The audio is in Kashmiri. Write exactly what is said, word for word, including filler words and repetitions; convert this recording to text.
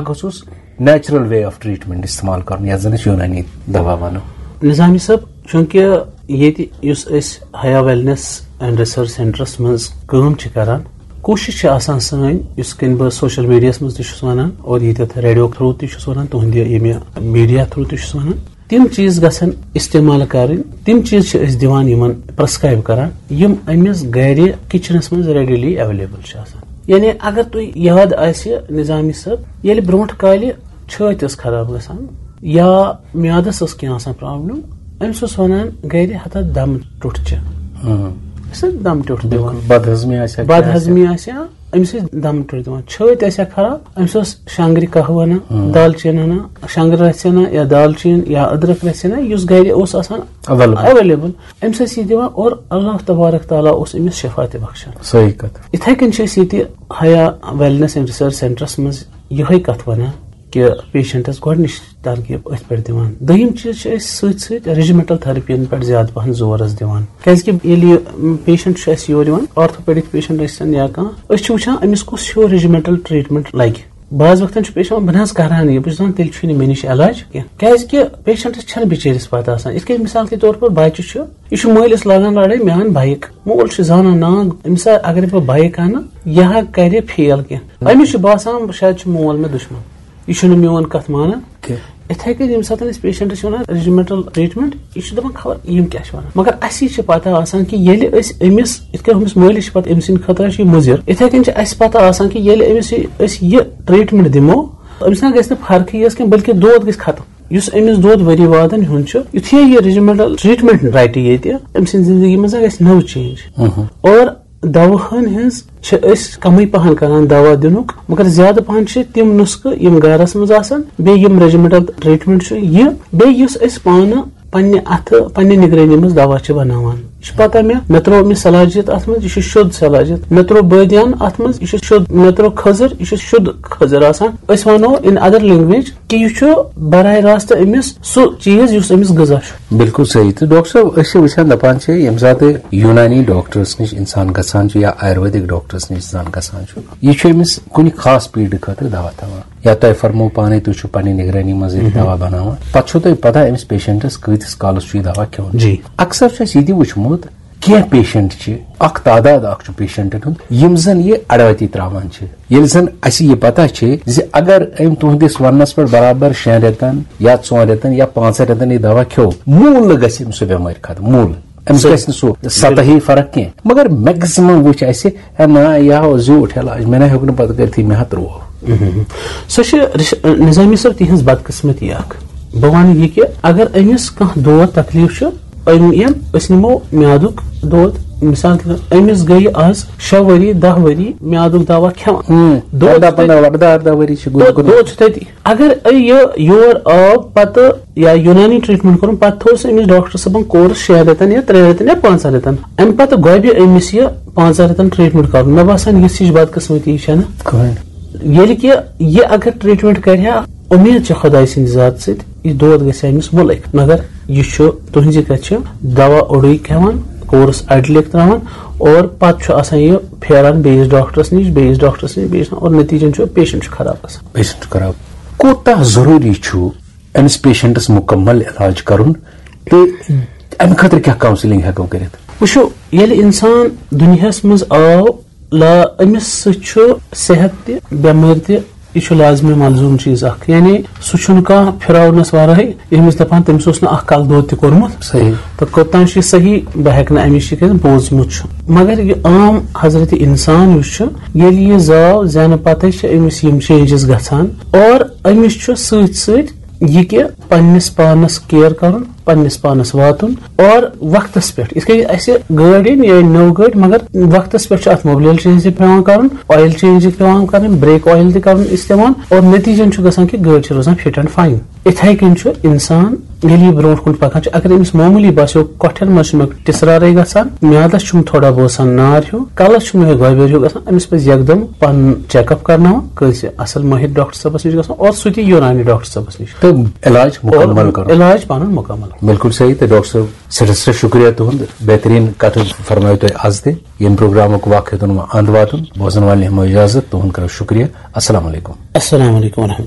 گوٚژھُس نیچرل وے آف ٹریٹمنٹ استعمال کرُن، یتھ زن أسۍ یونانی دوا ونو۔ نظامی صٲب، چونکہ ییٚتہِ یُس أسۍ ہیا ویلنس اینڈ ریسرچ سینٹرس منٛز کٲم چھِ کران، کوٗشش چھِ آسان سٲنۍ، یُس کِنۍ بہٕ سوشل میڈیاہس منٛز تہِ چھُس ونان اور ییٚتٮ۪تھ ریڈیو تھروٗ تہِ چھُس ونان، تُہنٛدِ ییٚمہِ میڈیا تھروٗ تہِ چھُس ونان، تِم چیٖز گژھن استعمال کرٕنۍ، تِم چیٖز چھِ أسۍ دِوان یِمن پرسکرایب کران، یِم أمِس گرِ کچنس منٛز ریڈیلی ایویلیبل چھِ آسان۔ یعنی اگر تُہۍ یاد آسہِ نظامی صٲب، ییٚلہِ برونٛٹھ کالہِ چھٲتۍ ٲس خراب گژھان یا میادس ٲس کینٛہہ آسان پرابلم، أمِس اوس ونان گرِ ہتا دم ٹوٚٹھ چہِ۔ أسۍ ٲسۍ دم ٹوٚٹھ دِوان۔ بِلکُل، بدہضمی آسہِ ہا، بدہضمی آسہِ ہا، أمِس ٲسۍ دم ٹوٚٹھ دِوان۔ چھٲتۍ آسہِ ہا خراب، أمِس اوس شنگرِ قہوٕ انان، دالچیٖن انان، شنگرِ رژھِ انان یا دالچیٖن یا أدرک رژھِ انان، یُس گرِ اوس آسان اویلیبل۔ اویلیبل۔ أمِس ٲسۍ یہِ دِوان اور اللہ تبارک تعالیٰ اوس أمِس شفا تہِ بخشان۔ صحیح کتھ۔ یِتھے کٔنۍ چھِ أسۍ ییٚتہِ ہیا ویلنس اینڈ ریسرچ سینٹرس منٛز یِہے کتھ ونان کہِ پیشنٹس گۄڈٕنِچ ترغیب أتھۍ پٮ۪ٹھ دِوان۔ دوٚیِم چیٖز چھِ أسۍ سۭتۍ سۭتۍ ریجیمنٹل تھراپین پٮ۪ٹھ زیادٕ پہن زور حظ دِوان، کیازِ کہِ ییٚلہِ یہِ پیشنٹ چھُ اَسہِ یور یِوان، آرتھوپیڈک پیشنٹ ٲسۍ تن یا کانٛہہ، أسۍ چھِ وٕچھان أمِس کُس ہیوٗ ریجیمنٹل ٹریٹمنٹ لگہِ۔ بعض وقتن چھُ پیشنٹ دپان، بہٕ نہ حظ کرہا نہٕ یہِ، بہٕ چھُس دپان تیٚلہِ چھُے نہٕ مےٚ نِش علاج کینٛہہ، کیازِ کہِ پیشنٹس چھنہٕ بِچٲرِس پتہ آسان۔ یِتھ کٔنۍ مثال کے طور پر بچہِ چھُ، یہِ چھُ مٲلِس لاگان لڑٲے، مےٚ اَن بایک۔ مول چھُ زانان، نا، أمِس اگر بہٕ بایک انہٕ، یہِ ہا کرِ فیل کینٛہہ۔ أمِس چھُ باسان شاید چھُ مول مےٚ دُشمن، یہِ چھُنہٕ میون کتھ مانان۔ کینٛہہ۔ یِتھے کٔنۍ ییٚمہِ ساتہٕ أسۍ پیشنٹس چھِ ونان ریجیمنٹل ٹریٹمنٹ، یہِ چھُ دپان خبر یِم کیٛاہ چھِ ونان، مگر اسی چھِ پتہ آسان کہِ ییٚلہِ أسۍ أمِس، یِتھ کٔنۍ أمِس مٲلِس چھِ پتہ أمۍ سٕنٛدِ خٲطرٕ چھُ یہِ مُضر، یِتھے کٔنۍ چھِ اَسہِ پتہ آسان کہِ ییٚلہِ أمِس یہِ، أسۍ یہِ ٹریٹمنٹ دِمو، أمِس نہ گژھِ نہٕ فرقٕے یٲژ کینٛہہ، بلکہِ دود گژھِ ختم۔ یُس أمِس دود ؤری وادن ہُنٛد چھُ، یُتھُے یہِ ریجیمنٹل ٹریٹمنٹ رٹہِ ییٚتہِ، أمۍ سٕنٛدِ زندگی منٛز گژھِ نٔو چینج۔ اور دواہن ہٕنٛز چھِ أسۍ کمٕے پہن کران دوا دِنُک، مگر زیادٕ پہن چھِ تِم نُسخہٕ یِم گرس منٛز آسان، بیٚیہِ یِم ریجیمنٹل ٹریٹمنٹ چھُ یہِ، بیٚیہِ یُس أسۍ پانہٕ پننہِ اتھٕ، پننہِ نگرٲنی منٛز دوا چھِ بناوان۔ یہِ چھُ پتہ مےٚ، مےٚ ترٛوو أمِس صلاحیت اتھ منٛز، یہِ چھُ شُد صلاحیت۔ مےٚ ترٛوو بٲدیان اتھ منٛز، یہِ چھُ شُد۔ مےٚ ترٛوو کھٔزٕر، یہِ چھُ شُد کھٔزٕر آسان۔ أسۍ ونو in other language کہِ یہِ چھُ براہ راست أمِس سُہ چیٖز یُس أمِس غذا چھُ۔ بِلکُل صحیح۔ تہٕ ڈاکٹر صٲب، أسۍ چھِ وٕچھان، دَپان چھِ، ییٚمہِ ساتہٕ یوٗنانی ڈاکٹرس نِش اِنسان گژھان چھُ یا آیُرویدِک ڈاکٹرس نِش اِنسان گژھان چھُ، یہِ چھُ أمِس کُنہِ خاص پیٖرڈٕ خٲطرٕ دوا تھاوان، یا تۄہہِ فرموو پانے، تُہۍ چھِو پننہِ نگرٲنی منٛز ییٚتہِ دوا بناوان، پتہٕ چھُو تۄہہِ پتہ أمِس پیشنٹس کۭتِس کالس چھُ یہِ دوا کھیوٚن۔ جی۔ اکثر چھُ اَسہِ یہِ تہِ وٕچھمُت، کینٛہہ پیشنٹ چھِ، اکھ تعداد اکھ چھُ پیشنٹن ہُنٛد، یِم زن یہِ اڑوتی تراوان چھِ۔ ییٚلہِ زن اَسہِ یہِ پتہ چھِ زِ اگر أمۍ تُہنٛدِس وننس پٮ۪ٹھ برابر شٮ۪ن رٮ۪تن یا ژۄن رٮ۪تن یا پانٛژن رٮ۪تن یہِ دوا کھیوٚو، موٗل گژھِ أمۍ سُہ بٮ۪مٲرۍ ختم، موٗل۔ أمِس صحیح۔ گژھِ نہٕ سُہ سطحی فرق کینٛہہ۔ مگر میکزِمم وٕچھ اَسہِ، ہے نہ، یہِ ہاو زیوٗٹھ علاج، مےٚ نہ ہیوٚک نہٕ پتہٕ کٔرتھٕے، مےٚ ہا ترٛوو۔ سۄ چھِ رِش-، نظامی صٲب تِہنٛز بدقسمتی اکھ۔ بہٕ وَنہٕ یہِ کہِ اگر أمِس کانٛہہ دود تکلیٖف چھُ، أمۍ یِم أسۍ نِمو میادُک دود، مثال کے طور، أمِس گٔیہِ آز شےٚ ؤری، دَہ ؤری میادُک دوا کھٮ۪وان۔ دود اردہ چھُ تَتہِ۔ پندہ، اردہ، اردہ ؤری چھِ گُرۍ دود، گُرۍ۔ دود چھُ تَتی۔ اگر یہِ یور آو پتہٕ یا یوٗنانی ٹریٹمنٹ کوٚرُن، پتہٕ تھوٚوُس أمِس ڈاکٹر صٲبن کورس شیٚن رٮ۪تن یا ترٛٮ۪ن رٮ۪تن یا پانٛژن رٮ۪تن، امہِ پتہٕ گۄبہِ أمِس یہِ پانٛژن رٮ۪تن ٹریٹمنٹ کرُن۔ مےٚ باسان، یِژھ ہِش بدقسمتی چھنہٕ۔ کٕہٕنۍ۔ ییٚلہِ کہِ یہِ اگر ٹریٹمنٹ کرِ ہا، اُمید چھِ خۄداے سٕنٛدِ ذاتہٕ سۭتۍ، یہِ دود گژھِ ہا أمِس مُلک۔ مگر یہِ چھُ تُہنٛزِ کتھِ چھُ دوا اوٚڑُے کھٮ۪وان، کورس اڑِ لیکھ تراوان، اور پتہٕ چھُ آسان یہِ پھیران بیٚیِس ڈاکٹرس نِش، بیٚیِس ڈاکٹرس نِش، بیٚیِس نِش، اور نتیٖجن چھُ پیشنٹ چھُ خراب گژھان۔ پیشنٹ چھُ خراب۔ کوٗتاہ ضروٗری چھُ أمِس پیشنٹس مُکمل علاج کرُن تہٕ امہِ خٲطرٕ کیٛاہ کاونسلنگ ہٮ۪کو کٔرِتھ؟ وٕچھِو، ییٚلہِ انسان دُنیاہس منٛز آو، لا أمِس سۭتۍ چھُ صحت تہِ، بٮ۪مٲرۍ تہِ، یہِ چھُ لازمی ملزوم چیٖز اکھ۔ یعنی سُہ چھُنہٕ کانٛہہ پھراونس ورٲے ییٚمِس دپان تٔمِس اوس نہٕ اکھ کلہٕ دود تہِ کوٚرمُت۔ صحیح۔ تہٕ کوٚتام چھُ یہِ صحیح، بہٕ ہٮ۪کہٕ نہٕ امِچ یہِ کٔرِتھ، بوٗزمُت چھُ۔ مگر یہِ عام حضرت انسان یُس چھُ، ییٚلہِ یہِ زاو زینہٕ پتے چھِ أمِس یِم چینجز گژھان، اور أمِس چھُ سۭتۍ سۭتۍ یہِ کہِ پننِس پانس کیئر کرُن، پننِس پانس واتُن اور وقتس پٮ۪ٹھ، یِتھ کٔنۍ اسہِ گٲڑۍ أنۍ، یہِ أنۍ نٔو گٲڑۍ، مگر وقتس پٮ۪ٹھ چھُ اتھ مبلیل چینج تہِ پٮ۪وان کرُن، آیل چینج تہِ پٮ۪وان کرٕنۍ، بریک آیل تہِ کرُن استعمال، اور نتیٖجن چھُ گژھان کہِ گٲڑۍ چھِ روزان فٹ اینڈ فاین۔ یِتھے کٔنۍ چھُ انسان ییٚلہِ یہِ برونٛٹھ کُن پکان چھُ، اگر أمِس معموٗلی باسیو کۄٹھٮ۪ن منٛز چھُ مےٚ ٹِسرارے گژھان، میادس چھُم تھوڑا باسان نار ہیوٗ، کلس چھُ مےٚ گۄبٮ۪ر ہیوٗ گژھان، أمِس پزِ یکدم پنُن چیک اپ کرناوُن کٲنٛسہِ اصل مٲہِر ڈاکٹر صٲبس نِش گژھُن، اور سُہ تہِ یوٗنانی ڈاکٹر صٲبس نِش۔ تہٕ علاج مُکمل کرُن۔ علاج پنُن مُکمل۔ بِلکُل صحیح۔ تہٕ ڈاکٹر صٲب، سٮ۪ٹھاہ سٮ۪ٹھاہ شُکریہ تُہُنٛد، بہتریٖن کتھ فرمٲیو تۄہہِ از تہِ۔ ییٚمہِ پروگرامُک وقت ہیوٚتُن وۄنۍ اند واتُن، بوزن والٮ۪ن ہٮ۪مو اجازت، تُہُنٛد کرو شُکریہ۔ السلام علیکم۔ السلام علیکم ورحمۃ اللہ۔